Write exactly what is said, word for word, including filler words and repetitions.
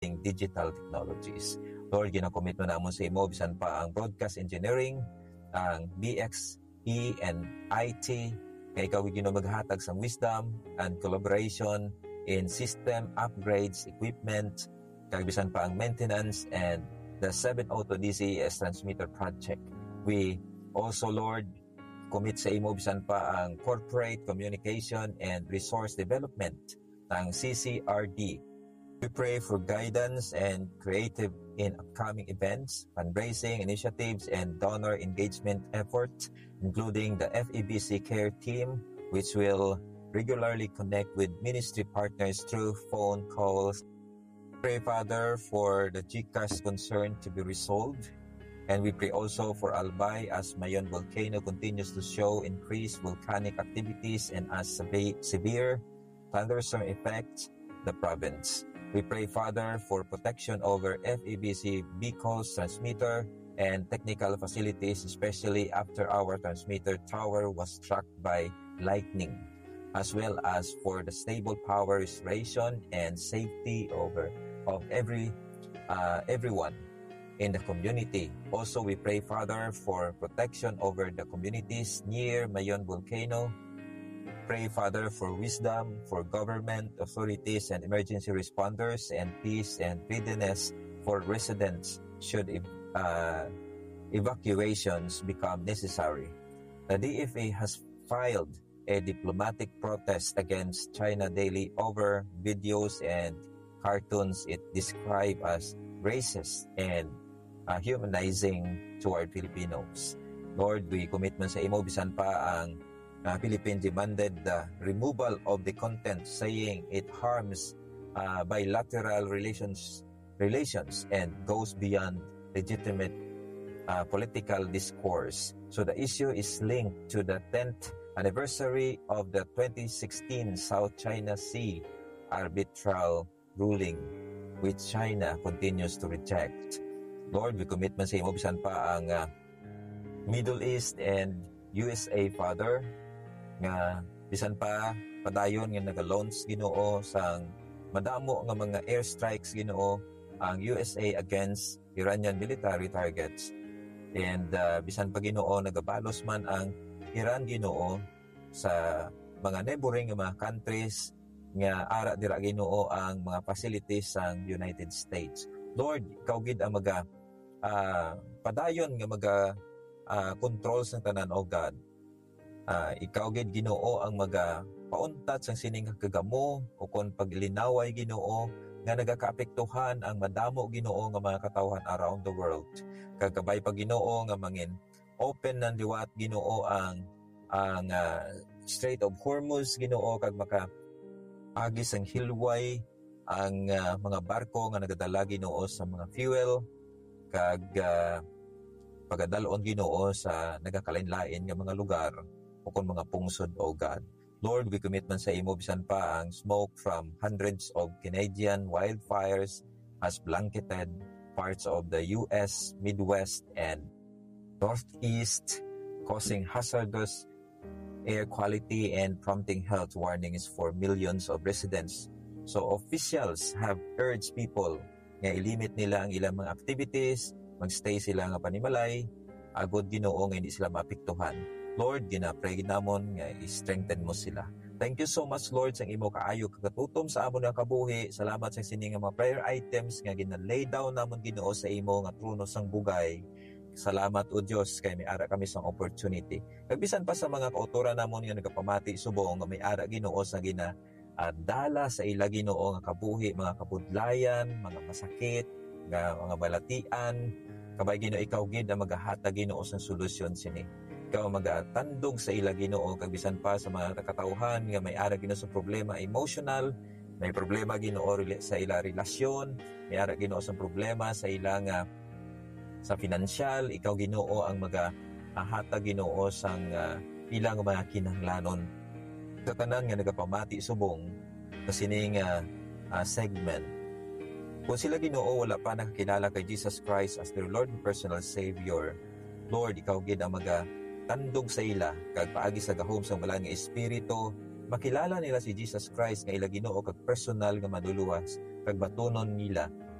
digital technologies. Lord, ginakommit mo namon sa imo bisan pa ang broadcast engineering, ang B X E and I T, kay ikaw, Ginoo, maghatag sang wisdom and collaboration in system upgrades, equipment, kag bisan pa ang maintenance and the seven Auto D C S transmitter project. We also, Lord, commit sa imo bisan pa ang corporate communication and resource development, ang C C R D. We pray for guidance and creative in upcoming events, fundraising initiatives, and donor engagement efforts, including the F E B C Care Team, which will regularly connect with ministry partners through phone calls. Pray, Father, for the GCash concern to be resolved. And we pray also for Albay as Mayon volcano continues to show increased volcanic activities and as seve-, severe thunderstorm affects the province. We pray, Father, for protection over F E B C vehicles, transmitter, and technical facilities, especially after our transmitter tower was struck by lightning, as well as for the stable power restoration and safety over of every, uh, everyone in the community. Also, we pray, Father, for protection over the communities near Mayon Volcano. Pray, Father, for wisdom for government authorities and emergency responders, and peace and readiness for residents should ev-, uh, evacuations become necessary. The D F A has filed a diplomatic protest against China Daily over videos and cartoons it described as racist and, uh, humanizing toward Filipinos. Lord, we commit man sa imo bisan pa ang, uh, Philippine demanded the removal of the content, saying it harms, uh, bilateral relations, relations and goes beyond legitimate, uh, political discourse. So the issue is linked to the tenth anniversary of the twenty sixteen South China Sea arbitral ruling, which China continues to reject. Lord, we commit man sa imo bisan pa ang, uh, Middle East and U S A, Father, nga bisan pa padayon nga naga-launch, Ginoo, sang madamo nga mga airstrikes, Ginoo, ang U S A against Iranian military targets. And, uh, bisan pa, Ginoo, nagabalos man ang Iran, Ginoo, sa mga neighboring nga mga countries nga ara dira, Ginoo, ang mga facilities sang United States. Lord, ikaw gid ang maga-, ah, padayon nga maga-, ah, control sang tanan, O God. Ah, ikaw gid, Ginoo, ang magapauntat sang sining kagamo ukon paglinaway, Ginoo, nga nagakaapektuhan ang madamo, Ginoo, nga mga katawhan around the world. Kag kabay pa, Ginoo, nga mangin open nan liwat, Ginoo, ang, ang, ah, Strait of Hormuz, Ginoo, kag makaagi sang hilway ang, ah, mga barko nga nagadala, Ginoo, sa mga fuel, kag, ah, pagadal-on, Ginoo, sa nagakalain-lain nga mga lugar ukon mga pungsod, O God. Lord, we commit man sa imo bisan pa ang smoke from hundreds of Canadian wildfires has blanketed parts of the U S Midwest and Northeast, causing hazardous air quality and prompting health warnings for millions of residents. So, officials have urged people nga i-limit nila ang ilang mga activities, magstay sila nga panimalay, agod, Ginoo, nga hindi sila maapektuhan. Lord, ginapray gid namon nga i-strengthen mo sila. Thank you so much, Lord, sa imo kaayo kagatutom sa amon nga kabuhi. Salamat sa sini nga mga prayer items nga gina-lay down namon, Ginoo, sa imo nga trono sang bugay. Salamat, O Dios, kay may ara kami sang opportunity. Kag bisan pa sa mga kautoran namon nga nagapamati subong nga may ara, Ginoo, sa gina-, ah, dala sa ila, Ginoo, nga kabuhi, mga kabudlayan, mga masakit, nga mga balatian, kabay, Ginoo, ikaw gid ang magahatag, Ginoo, sang solusyon sini. Ikaw ang magatandog sa ila, Ginoo, kag bisan pa sa mga katawhan nga may ara, Ginoo, sa problema emotional, may problema, Ginoo, rela-, sa ila relasyon, may ara, Ginoo, sa problema sa ila nga sa pinansyal, ikaw, Ginoo, ang maga-, ah, hatag, Ginoo, sang, ah, ilang mga kinahanglanon. Sa tanan nga nagapamati subong sa sini nga, ah, segment, kung sila, Ginoo, wala pa nakakilala kay Jesus Christ as their Lord and personal Savior, Lord, ikaw gid ang magatandog sa ila, kag paagi sa gahom sang Balaan nga Espiritu, makilala nila si Jesus Christ nga ila Ginoo kag personal nga Manluluwas, kag batunon nila